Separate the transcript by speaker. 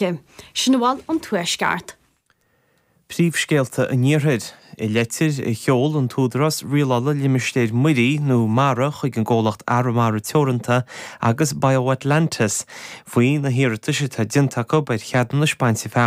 Speaker 1: Sin a bhfuil ón Tuaisceart.
Speaker 2: Príomhscéalta an Iarthair. I leitir a sheol an tÚdarás Rialála Limistéir Muirí nó Mara chuig an gcomhlacht Arramara Teoranta agus BioAtlantis faoi na hiarratais atá déanta acu ar cheadúnais bainte feamainne.